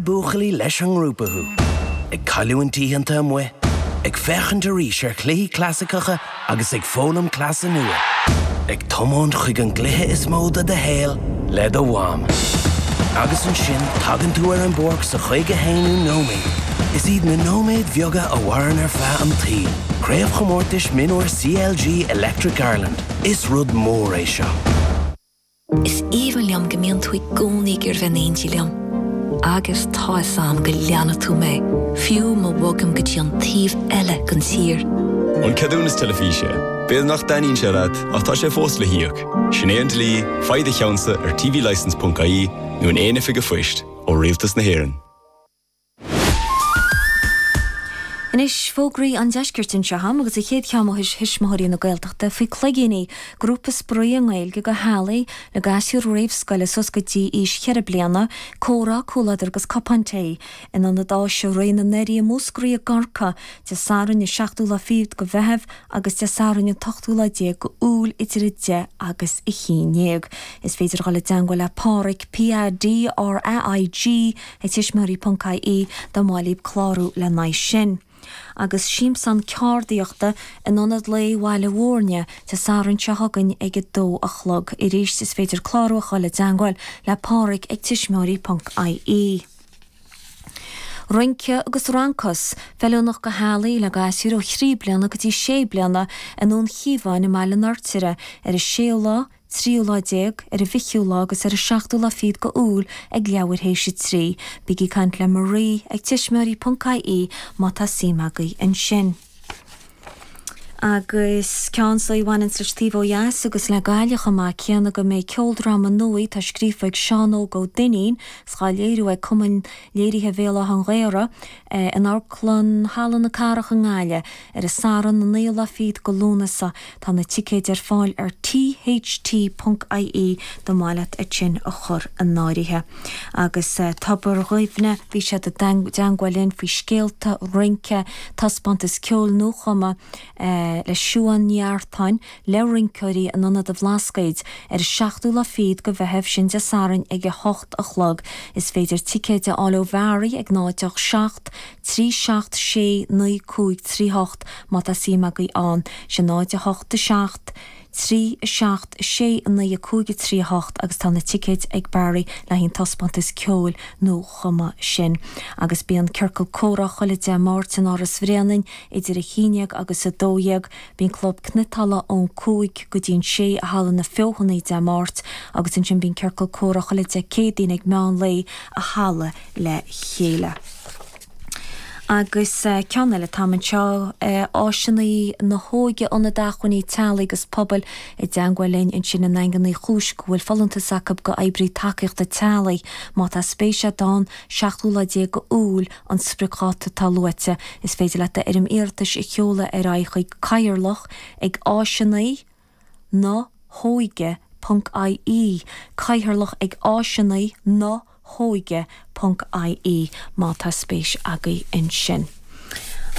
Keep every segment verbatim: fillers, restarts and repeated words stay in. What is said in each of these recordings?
buachaillí leis an ngrúpa thú. Ag cailliúint oícheanta amuigh, ag féachaint arís ar chluichí clasaiceacha agus ag foghlaim cleasa nua. Ag tiomáint chuig an gcluiche is mó de do shaol le do mham. Agus ansin tagann tú ar an bpáirc sa chaoga haonú nóiméad. Is iad na nóiméid bheaga a mhaireann ar feadh an tsaoil. Craobhchomórtais Mionúr CLG Electric Ireland. Is rud mór é seo. Is aoibhinn liom go mbíonn tú i gcónaí ag iarraidh bheith in éindí liom. Agus tá a fhios agam go leanfaidh tú mé, fiú má bhogaim go dtí an taobh eile den tír. An ceadúnas teilifíse, B'fhéidir nach dtaitníonn sé leat ach tá sé fós le híoc. Sin é an dlí, faigh do cheannsa ar tvlicence.ie nó in aon oifig phoist ó Rialtas na hÉireann. Anois fógraí an deiscirt anseo agam agus an chéad cheann ó Thuismitheoirí na Gaeltachta faoi Cloigíní, grúpa spraoi i nGaeilge do theaghlaigh le gasúir réamhscoile suas go dtí aois cheithre bliana, comhrá, comhluadar agus cupán tae in Ionad Áise Réidh na nDoirí i Múscraí i gCorcaigh, Dé Sathairn an seachtú lá fichead de Mheitheamh agus Dé Sathairn an t-ochtú lá déag de Iúil idir a deich agus a haon déag. Is féidir a dhul i dteangmháil le Pádraig, PADRAIG, ag tuismitheoirí ponc ie dá mba mhaith libh clárú lena aghaidh sin. Agus siamsán ceardaíochta in Ionad Lae Bhaile Mhúirne Dé Sathairn seo chugainn ag a dó a chlog. Arís is féidir clárú a dhul i dteangmháil le Pádraig ag tuismitheoirí ponc ie. Rince agus Rancás, feiliúnach do theaghlaigh le gasúir ó thrí bliana go dtí sé bliana i nDún Chíomháin i mBaile an Fheirtéaraigh ar an séú lá, tríú lá déag, ar an bhfichiú lá agus ar an seachtú lá fichead de Iúil ag leathuair théis a trí. Bígí ag caint le Marie ag tuismitheoirí ponc ie má tá suim agaibh ansin. Agus ceann so a bhaineanns leis taobh ó dheas agus le Gaillimh chomh maith céanna go mbeidh ceoldráma nua atá scríofa ag Seán Óg Ó Duinnín is dhá léiriú ag Cumann Léirithe Bhéal Átha an Ghaorthaidh in Amharclann Halla na Cathrach i nGaillimh ar an Satharn an naoú lá fichead de Lúnasa. Tá na ticéid ar fáil ar tht ponc ie dá mba mhaith leat iad sin a chur in áirithe. Agus Tobar Dhuibhne, bhí siad i dteangmháil linn faoi scéalta, rince, taispeántas ceoil nuachumtha le Siuán Ní Eartáin le rinceoirí in Ionad an Bhlascaoid ar an seachtú lá fichead de Mheitheamh, sin Dé Sathairn ag a hocht a chlog. Is féidir ticéid a fháil ó Mhary ag náid ocht seacht, trí seacht sé naoi cúig trí hocht má tá suim agaibh ann. Sin náid a hocht a seacht, trí a seacht sé naoi a cúig a trí a hocht agus tá na ticéid ag Barry le haghaidh an taispeántas ceoil nuachumtha sin. Agus bíonn ciorcal comhrá chuile Dé Máirt in Áras Bhréanainn idir a haon déag agus a dó dhéag. Bíonn club cniotála ón cúig go dtí an sé i Halla na Feothanaí Dé Máirt agus ansin bíonn ciorcal comhrá chuile Dé Céadaoin ag meán lae i Halla le Chéile. Agus ceann eile atá anseo, áiseanna na hóige, Ionad Acmhainní Teaghlaigh agus Pobail i dteangmháil linn ansin i nDaingean Uí Chúis go bhfuil folúntas acu go oibrí tacaíochta teaghlaigh. Má tá spéis agat ann, seachtú lá déag de Iúil an spriocdháta atá luaite. Is féidir leat d'fhoirm iarratais a sheoladh ar aghaidh chuig cathaoirleach ag áiseanna na hóige ponc ie, cathaoirleach ag áiseanna na hóige ponc ie má tá spéis agaibh ansin.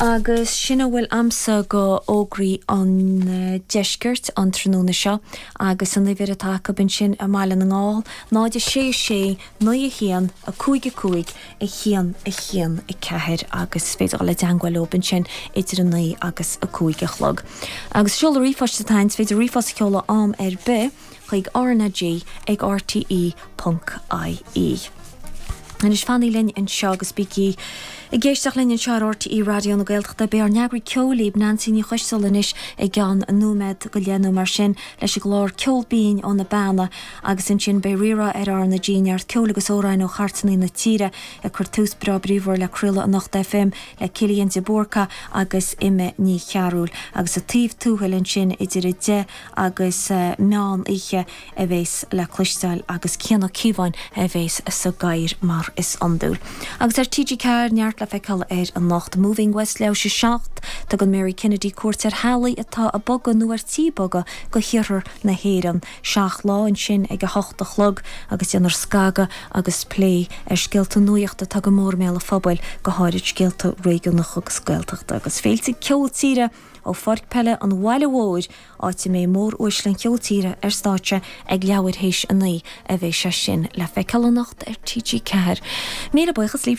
Agus sin a bhfuil a'msa go fhógraí an deiscirt an tráthnóna seo agus an uimhir atá acu ansin i mBaile na nGall, náid a sé sé naoi a haon a cúig a cúig a haon a haon a ceathair agus is féidir dul i dteangmháil leo ansin idir a naoi agus a cúig a chlog. Agus seoladh ríomhphoist atá ann, is féidir ríomhphost a sheoladh am ar bith chuig RnaG ag rte ponc ie. Anois fanaigí linn anseo agus bígí ag éisteacht linn anseo ar RTÉ Raidió na Gaeltachta. Beidh ár n-eagraí ceoil libh, Neansaí Ní Choisteala anois i gceann nóiméad go leith nó mar sin leis an gclár Ceol Binn ó na Beanna agus ansin beidh Rí-Rá ar RnaG, neart ceoil agus amhráin ó chairteanna na tíre ag cur tús breá bríomhar le craoladh anocht FM le Cillian de Búrca agus Emma Ní Chearúil agus sa taobh tuathail ansin idir a deich agus meán oíche a bheas le cloisteáil agus Cian Ó Cíobháin a bheas sa gcathaoir mar is iondúil. Agus ar TG Ceathair, neart le feiceáil air anocht. Moving West leathuair théis a seacht, tugann Mary Kennedy cuairt ar theaghlaigh atá ag bogadh nó ar tí bogadh go hiarthar na hÉireann. Seacht Lá ansin ag a hocht a chlog agus déanfar scagadh agus plé ar scéalta nuachta atá go mór i mbéal an phobail, go háirid scéalta réigiúnacha agus Gaeltachta agus féilte ceol tíre ó Pháirc Peile an Bhaile Mhóir, áit a mbeidh móruaisle an cheoil tíre ar stáitse ag leathuair théis a naoi a bheidh sé sin le feiceáil anocht ar TG Ceathair. Míle buíochas libh.